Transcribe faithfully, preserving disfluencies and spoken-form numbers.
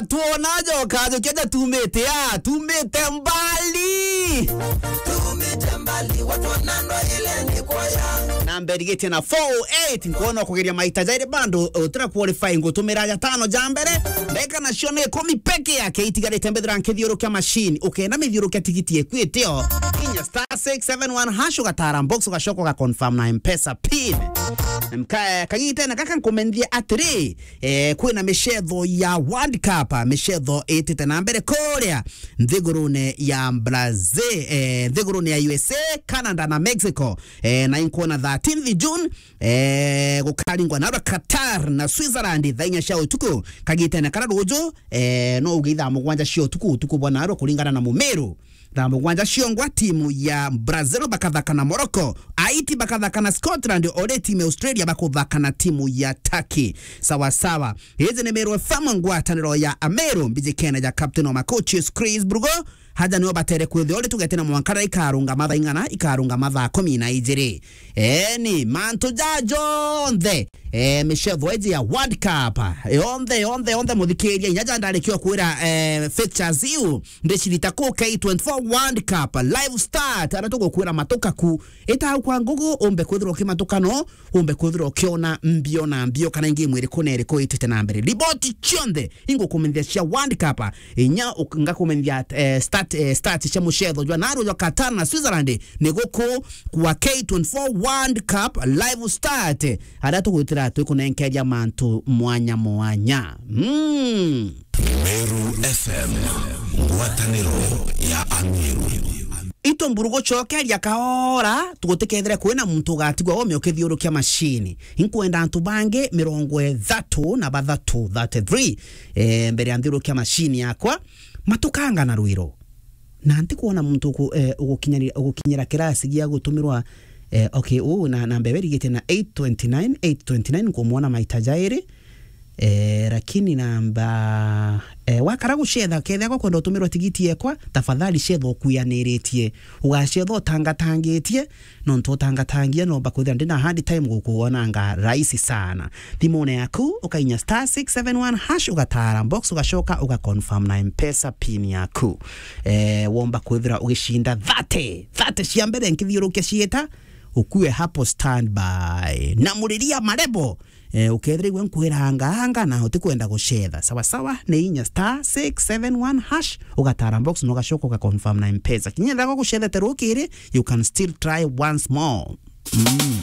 Tuona joka, joka ja tumite a, tumite mbali. Tumite mbali, watu wanando ile ni kwaya. Na mberigetie na four oh eight, nkono kugeria maita jairi bando, utira qualify ngutumira ja tano ja mbere. Ndeka nacio ni ikumi peke yake itigarite mbethira nkithiurukia machine. Ukenda mithiurukia tigiti ekwitio. Inya star six seven one hash ugatara box ugacoka uga confirm na M-Pesa pin. Mka-, kagitene gaka nkumenthie atiri, eh, kwina micetho ya World Cup, micetho itite na mbere kuria nthigurune ya Brazil, eh, nthigurune ya U S A, Canada na Mexico. Eh, na inkuona thirteenth June, eh, gukaringwa narua Qatar na Switzerland thaa inya cia utuku. Kagitene kara ruju, eh, no uge ithaa mugwanja cia utuku, utuku bwa narua kuringana na mumiru. Thaa mugwanja ciongwa, timu ya Brazil bakathaka na Morocco, Haiti bakathaka na Scotland, ore timu ya Australia bakuthaka na timu ya Turkey. Sawa sawa. Hizi ni Meru F M, ngwataniro ya Ameru, mbijikene ja captain wa ma coaches Chris Brugo. Haja nio batere kwithia ore tugete na mwanka riria ikarunga mathaa ing'ana, ikarunga mathaa kumi na ijiri. Eeni, mantu ja jonthe, eh, micetho iji ya World Cup, yonthe, yonthe, yonthe, muthikiria, inya ja ndarikia kwira, eh, fixtures iu, ndicirita ku K twenty-four World Cup live start, aria tugukwira matuka ku. Ita au kwa ngugu, umbe kwithirwa ukimatuka no, umbe kwithirwa ukiona mbio na mbio, kana ingi mwiri kuna iriku itite na mbere. Riboti cionthe, ingukumenyithia cia World Cup, inya uk-, ngakumenyithia, eh, start, eh, start cia mucetho jwa naru jwa Qatar na Switzerland, ni guku kwa K twenty-four World Cup live start, aria tugwitira twikunenkeria mantu mwanya mwanya. Mm. Meru F M, ngwataniro ya Ameru. Itu mburu gucokeria kaora, tugutikethire kwina muntu ugatigwa ome ukithiurukia machine. Inkwenda antu bangi mirongo ithatu na bathatu, thirty-three, eh, mbere ya nthiurukia machine yakwa, matukanga na rwiro. Na ntikwona muntu uku-, eh, ugukinyari-, ugukinyira kirasi gia gutumirwa, eh, okay, uu na, na mbere rigite na eight twenty-nine, eight twenty-nine nkumwona maita jairi. Eh, lakini namba, eh, wakara gucetha, kethia gwa kwenda utumirwa tigiti yekwa, tafadhali cetha ukuyaniritie. Ugacetha utangatangitie, nontu utangatangia nomba kwithira ndina hard time gukuonanga rahisi sana. Thimune yaku, ukainya star six seven one hash, ugatara box, ugacoka uga confirm na M-Pesa pin yaku. Eh, womba kwithira ugicinda thirty, thirty cia mbere nkithiurukia ciita, ukue hapo standby. Na muriria marebo, eh, ukethira igwe nkwiranga anga na utikwenda gucetha. Sawa sawa, ni inya star six seven one hash, ugatara box na ugacoka uga confirm na M-Pesa. Kinya ethira gucethete rukiri, you can still try once more. Mm.